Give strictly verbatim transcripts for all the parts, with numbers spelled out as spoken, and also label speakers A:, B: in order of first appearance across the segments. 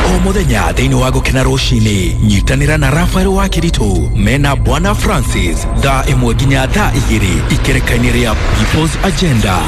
A: O muthenya thiini wa Gukena rucini nyitanira na Rafael wa Kiritu mena Bwana Francis thaa imwe nginya thaa igiri ikereka-inĩ rĩa People's Agenda.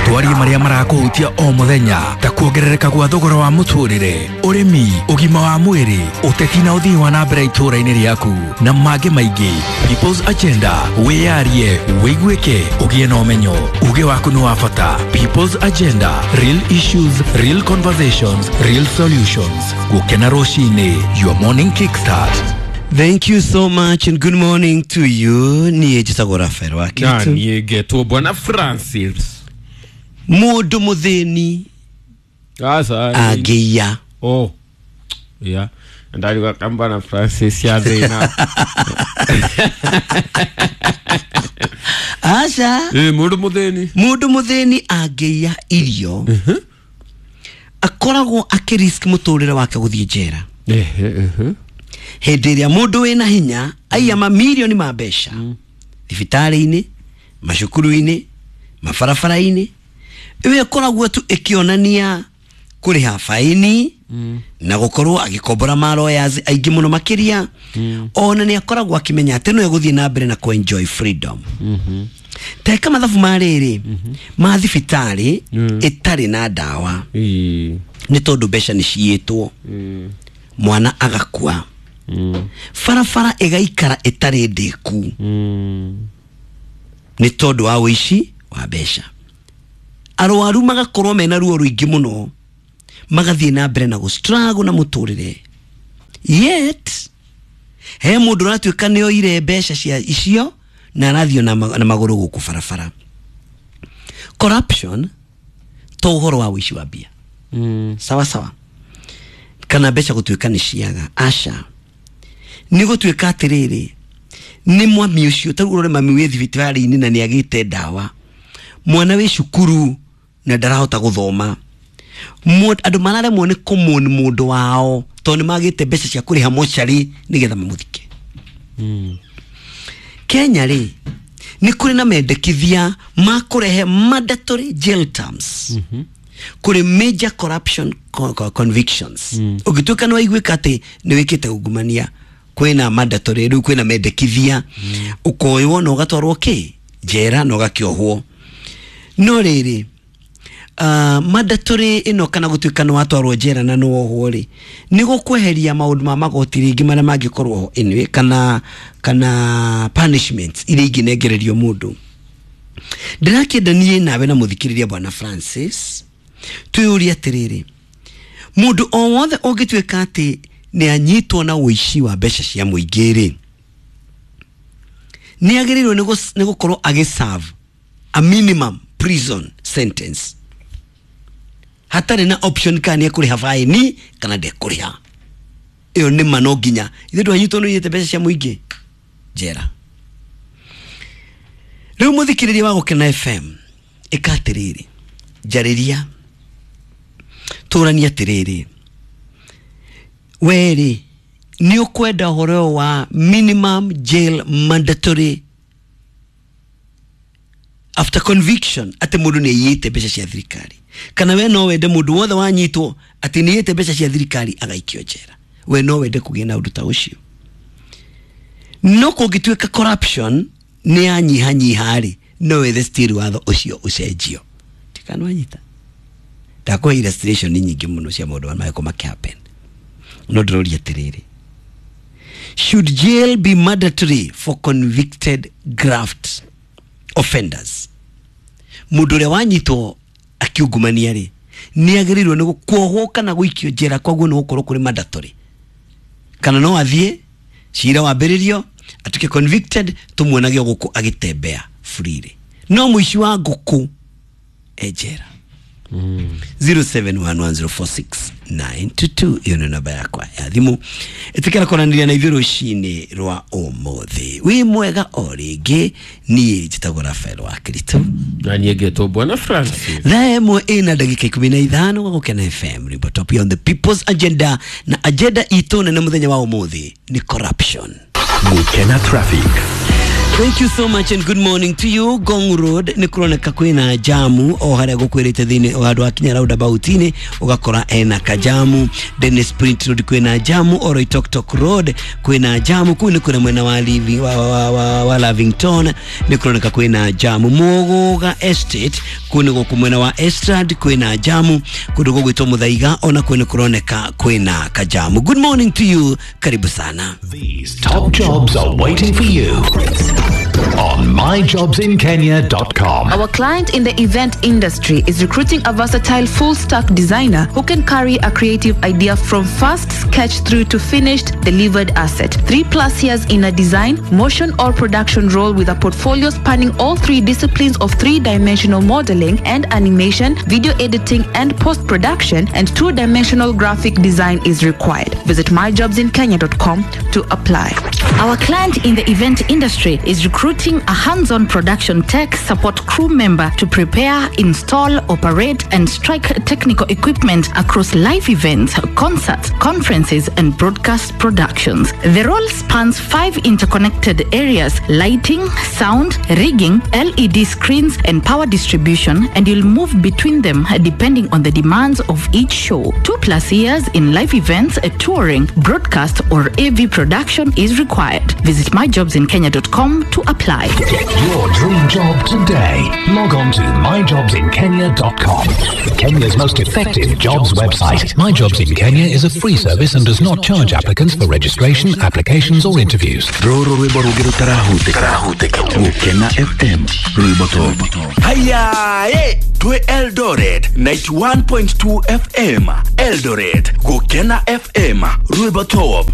A: Twarie maria marakuhutia o muthenya ta kuongerereka gwa thogora wa muturire, urimi, ugima wa mwiri, uteti na uthii wa na mbere itura-inĩ rĩaku na mangĩ maingĩ. People's Agenda, wiyarie, wĩiguĩke, ũgĩe na ũmenyo, uge waku nĩ wa bata. People's Agenda, real issues, real conversations, real solutions. Gukena rucini, your morning kickstart.
B: Thank you so much and good morning to you. Niĩ njĩtagwo Rafael wa Kiritu.
C: Na niĩ ngetwo Bwana Francis.
B: Mũndũ mũthĩni angĩiya.
C: Oh. Yeah. Ndariga kambana Francis ya thĩna.
B: Aca.
C: Eh, mũndũ mũthĩni.
B: Mũndũ mũthĩni angĩiya irio.
C: Mhm.
B: Akoragwo akĩrisk mũtũrĩre wake gũthiĩ njera.
C: Eh, eh.
B: Hĩndĩ ĩrĩa mũndũ wĩna hinya aiya mamirioni ma mbeca thibitarĩ-inĩ, macukuru-inĩ, mabarabara-inĩ, ĩyo ĩkoragwo tu ĩkĩonania kũrĩha faini na gũkorwo agĩkombora ma lawyers aingĩ mũno makĩria. Ona nĩ akoragwo akĩmenya atĩ no egũthiĩ na mbere na kũ enjoy freedom. Teka mathabu ma rĩrĩ ma thibitarĩ ĩtarĩ na ndawa nĩ tondũ mbeca nĩ ciĩtwo, mwana agakua, barabara ĩgaikara ĩtarĩ ndĩku nĩ tondũ wa ũici wa mbeca, arwaru magakorwo mena ruo rũingĩ mũno, magathiĩ na mbere na gũ-struggle na mũtũrĩre. Yet he mũndũ ũratuĩka nĩ oire mbeca cia icio na arathiĩ na magũrũ gũkũ barabara. Corruption to ũhoro wa ũici wa mbia, sawa sawa, kana mbeca gũtuĩka nĩ ciaga, aca, nĩ gũtuĩka atĩrĩrĩ nĩ mwami ũcio ta ũrore mami wĩ thibitarĩ-inĩ na nĩ agĩte ndawa, mwana wĩ cukuru na ndarahota gũthoma, andũ mararemwo nĩ kũmũni mũndũ wao tondũ nĩ magĩte mbeca cia kũrĩha mocarĩ nĩgetha mamũthike. Kenya rĩ nĩ kũrĩ na mendekithia ma kũrehe mandatory jail terms kũrĩ major corruption convictions. Ũngĩtuĩka nĩ waiguĩka atĩ nĩ wĩkĩte ungumania, kwĩna mandatory, rĩu kwĩna mendekithia, ũkoywo na ũgatwarwo kĩ njera na ũgakĩohwo. No rĩrĩ uh, mandatory ĩno kana gũtuĩka nĩ watwarwo njera na nĩ wohwo rĩ, nĩ gũkweheria maũndũ ma magoti rĩngĩ marĩa mangĩkorwo ho anyway, kana kana punishments iria ingĩnengererio mũndũ. Ndĩrakĩenda niĩ nawe na mũthikĩrĩria Bwana Francis twĩyũrie atĩrĩrĩ, mũndũ o wothe ũngĩtuĩka atĩ nĩ anyitwo na ũici wa mbeca cia mũingĩ rĩ, nĩ agĩrĩirwo nĩ gũkorwo agĩserve a minimum prison sentence hatarĩ na option kana nĩ ekũrĩha faini kana ndekũrĩha. Ĩyo nĩ ma no nginya ithuĩ twanyitwo nĩ ũiyĩte mbeca cia mũingĩ njera. Rĩu mũthikĩrĩria wa Gũkena F M, ĩka atĩrĩrĩ, njarĩria, tũranie atĩrĩrĩ, werĩ nĩ ũkwenda ũhoro wa minimum jail mandatory after conviction atĩ mũndũ nĩ aiyĩte mbeca cia thirikari, kana we no wende mũndũ wothe wanyitwo atĩ nĩ aiyĩte mbeca cia thirikari agaikio njera? We no wende kũgĩa na ũndũ ta ũcio? No kũngĩtuĩka corruption nĩ yanyihanyiha rĩ, no wethe still watho ũcio ũcenjio. Tikana wanyita ndakũhe illustration nyingĩ mũno cia maũndũ marĩa magĩkorwo makĩhappen. No ndĩroria atĩrĩrĩ, should jail be mandatory for convicted graft offenders? Mũndũ ũrĩa wanyitwo akiungumania rĩ, nĩ agĩrĩirwo nĩ kuohwo kana gũikio njera, koguo nĩ gũkorwo kũrĩ mandatory, kana no athiĩ cira wambĩrĩrio atuĩke convicted tũmuonage gũkũ agĩtembea freely, no mũici wa ngũkũ e njera. zero seven one one zero four six nine two two iyo nĩ namba yakwa ya thimũ. Ĩtĩkĩra kwaranĩria na ithuĩ rũcinĩ rwa ũmũthĩ. Wĩ mwega o rĩngĩ, niĩ njĩtagwo Rafael wa Kiritu
C: na niĩ ngetwo Bwana Francis.
B: Thaa ĩmwe ĩna ndagĩka ikũmi na ithano gwa Gũkena F M, rwĩmbo top on the People's Agenda, na agenda itũ nene mũthenya wa ũmũthĩ nĩ corruption.
A: Gũkena traffic.
B: Thank you so much and good morning to you. Ngong Road nĩ kũroneka kwĩna jamu o harĩa gũkwĩrĩte thĩinĩ o handũ hakinya roundabout-inĩ ũgakora ena kajamu. Dennis Print Road kwĩna jamu, Oloitoktok Road kwĩna jamu, kũu nĩ kũrĩa mwena wa Livi, wa, wa, wa, wa Lavington nĩ kũroneka kwĩna jamu. Muguga Estate kũu nĩ gũkũ mwena wa Estrad kwĩna jamu, kũndũ gũgwĩtwo Muthaiga ona kũu nĩ kũroneka kwĩna kajamu. Good morning to you, karibu sana.
D: These top jobs are waiting for you on my jobs in kenya dot com.
E: Our client in the event industry is recruiting a versatile full-stack designer who can carry a creative idea from first sketch through to finished delivered asset. Three plus years in a design, motion or production role with a portfolio spanning all three disciplines of three-dimensional modeling and animation, video editing and post-production, and two-dimensional graphic design is required. Visit my jobs in kenya dot com to apply.
F: Our client in the event industry is recruiting a hands-on production tech support crew member to prepare, install, operate, and strike technical equipment across live events, concerts, conferences, and broadcast productions. The role spans five interconnected areas: lighting, sound, rigging, L E D screens, and power distribution, and you'll move between them depending on the demands of each show. Two plus years in live events, touring, broadcast, or A V production is required. Visit my jobs in kenya dot com to apply.
D: Get your dream job today. Log on to my jobs in kenya dot com. Kenya's most effective jobs website. My Jobs in Kenya is a free service and does not charge applicants for registration, applications or interviews.
A: Rũrũ rwĩmbo rũngĩ rũtarahutĩka Gũkena F M rwĩmbo top. Haya, eh, twĩ Eldoret ninety-one point two F M. Eldoret Gũkena F M rwĩmbo top.